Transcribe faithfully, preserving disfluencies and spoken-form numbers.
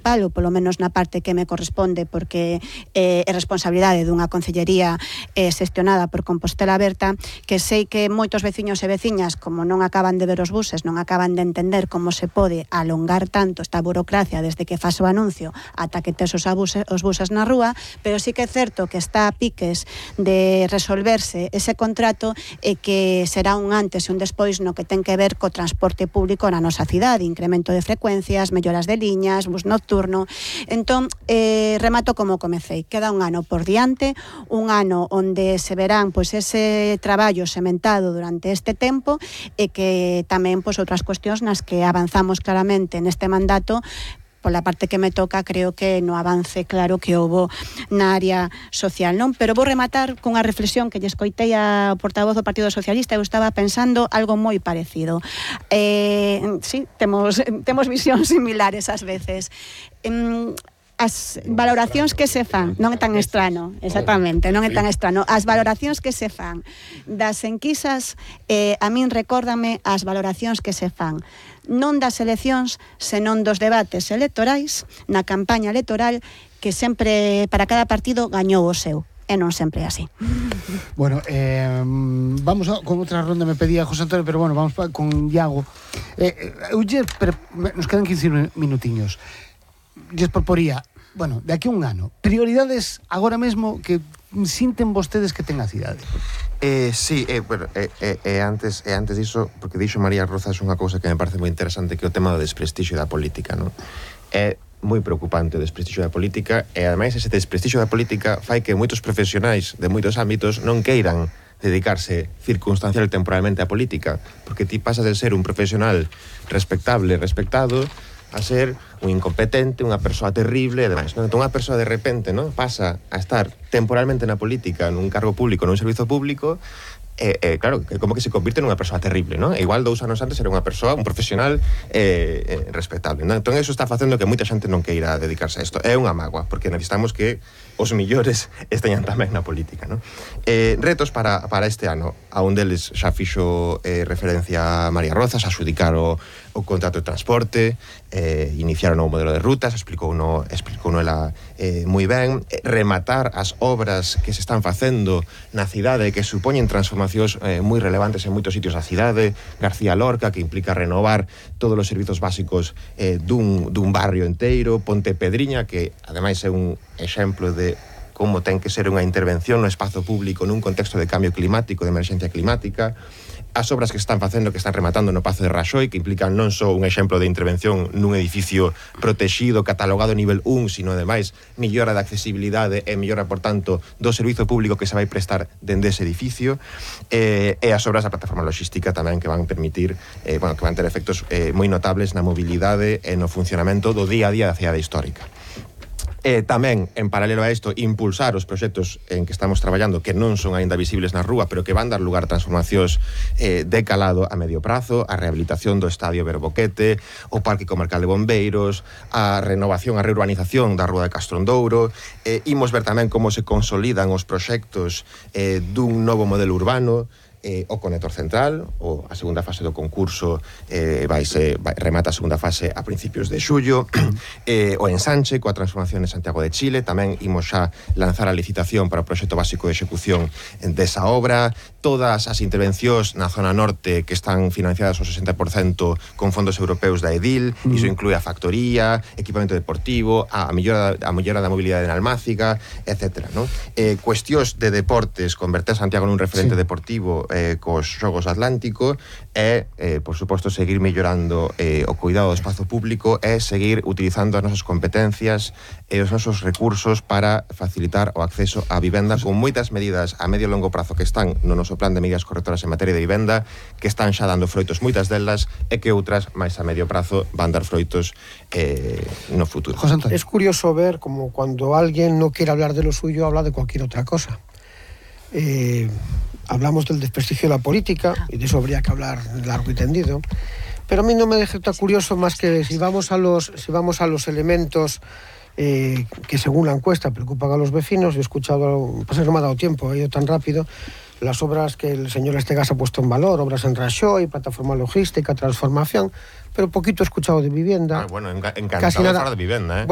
municipal, ou polo menos na parte que me corresponde, porque eh, é responsabilidade dunha concellería eh, xestionada por Compostela Aberta, que sei que moitos veciños e veciñas, como non acaban de ver os buses, non acaban de entender como se pode alongar tanto esta burocracia desde que faz o anuncio ata que tes os, abuses, os buses na rúa, pero sí que é certo que está a piques de resolverse ese contrato e que será un antes e un despois no que ten que ver co transporte público na nosa cidade, incremento de frecuencias, melloras de liñas, bus nocturno. Entón, eh, remato como comecei. Queda un ano por diante, un ano onde se verán pois, ese traballo sementado durante este tempo e que tamén pois, outras cuestións nas que avanzamos claramente neste mandato. Pola parte que me toca, creo que no avance claro que houbo na área social, non? Pero vou rematar cunha reflexión que lle escoitei a portavoz do Partido Socialista. Eu estaba pensando algo moi parecido. Eh, sí, temos, temos visións similares ás veces. Eh, as valoracións que se fan, non é tan estrano, exactamente, non é tan estrano, as valoracións que se fan das enquisas, eh, a min recórdame as valoracións que se fan non das eleccións, senón dos debates electorais, na campaña electoral, que sempre, para cada partido, gañou o seu. E non sempre é así. Bueno, eh, vamos a, con outra ronda, me pedía José Antonio, pero bueno, vamos pa, con Iago. Eh, eu lle, pero, nos quedan quince minutiños. Lles proporía, bueno, de aquí a un ano, prioridades agora mesmo que sinten vostedes que ten a cidade. Eh, sí, eh, bueno, eh, eh, eh, antes, eh, antes diso, porque dixo María Rozas unha cousa que me parece moi interesante, que é o tema do desprestixio da política, non? É moi preocupante o desprestixio da política, e ademais ese desprestixio da política fai que moitos profesionais de moitos ámbitos non queiran dedicarse circunstancial e temporalmente á política, porque ti pasas de ser un profesional respectable, respectado, a ser un incompetente, unha persoa terrible e demais, non? Entón, unha persoa de repente, non, pasa a estar temporalmente na política, nun cargo público, nun servizo público, e, eh, claro, como que se convirte nunha persoa terrible, non? E igual dous anos antes era unha persoa, un profesional eh, eh, respetable, non? Entón, eso está facendo que moita xente non queira dedicarse a isto. É unha mágoa, porque necesitamos que os millores esteñan tamén na política, non? Eh, retos para, para este ano. A un deles xa fixo eh, referencia a María Rozas, a xudicar o, o contrato de transporte, eh, iniciar o novo modelo de rutas, explicou no, explicou no ela eh, moi ben, eh, rematar as obras que se están facendo na cidade, que supoñen transformacións eh, moi relevantes en moitos sitios da cidade, García Lorca, que implica renovar todos os servizos básicos eh, dun, dun barrio enteiro, Ponte Pedriña, que ademais é un exemplo de como ten que ser unha intervención no espazo público nun contexto de cambio climático, de emerxencia climática, as obras que se están facendo, que están rematando no Pazo de Raxoi, que implican non só un exemplo de intervención nun edificio protexido, catalogado nivel un, sino ademais millora de accesibilidade e millora, por tanto, do servizo público que se vai prestar dende ese edificio, eh, e as obras da plataforma logística tamén que van permitir, eh, bueno, que van ter efectos eh, moi notables na mobilidade e no funcionamento do día a día da cidade histórica. E tamén, en paralelo a isto, impulsar os proxectos en que estamos traballando que non son aínda visibles na rúa, pero que van dar lugar a transformacións eh, de calado a medio prazo, a rehabilitación do Estadio Berboquete, o Parque Comarcal de Bombeiros, a renovación, a reurbanización da Rúa de Castrondouro. Eh, imos ver tamén como se consolidan os proxectos eh, dun novo modelo urbano, Eh, o Conector Central, o a segunda fase do concurso eh, vai se, vai, remata a segunda fase a principios de xullo, eh, o ensanche coa transformación de Santiago de Chile. Tamén imos xa lanzar a licitación para o proxecto básico de execución desa obra, todas as intervencións na zona norte que están financiadas ao sesenta por cento con fondos europeus da Edil, mm. iso inclúe a factoría, equipamento deportivo, a mellora, a mellora da mobilidade en Almáciga, etcétera, non? Eh, cuestións de deportes, converter Santiago nun referente sí. deportivo eh, cos Xogos Atlántico, e, eh, por suposto, seguir mellorando eh, o cuidado do espazo público e seguir utilizando as nosas competencias e os nosos recursos para facilitar o acceso á vivenda, con moitas medidas a medio e longo prazo que están no noso plan de medidas correctoras en materia de vivenda, que están xa dando froitos moitas delas, e que outras, máis a medio prazo, van dar froitos eh, no futuro. José Antonio. Es curioso ver como cuando alguien no quiere hablar de lo suyo, habla de cualquier otra cosa. Eh, hablamos del desprestigio de la política, y de eso habría que hablar largo y tendido, pero a mí no me deja tan curioso más que si vamos a los, si vamos a los elementos eh, que según la encuesta preocupan a los vecinos. Yo he escuchado, pasa que no me ha dado tiempo, he ido tan rápido, las obras que el señor Estegas ha puesto en valor, obras en Raxoi, plataforma logística, transformación, pero poquito he escuchado de vivienda. Ah, bueno, enca encantado casi nada. de hablar de vivienda, ¿eh? Bueno,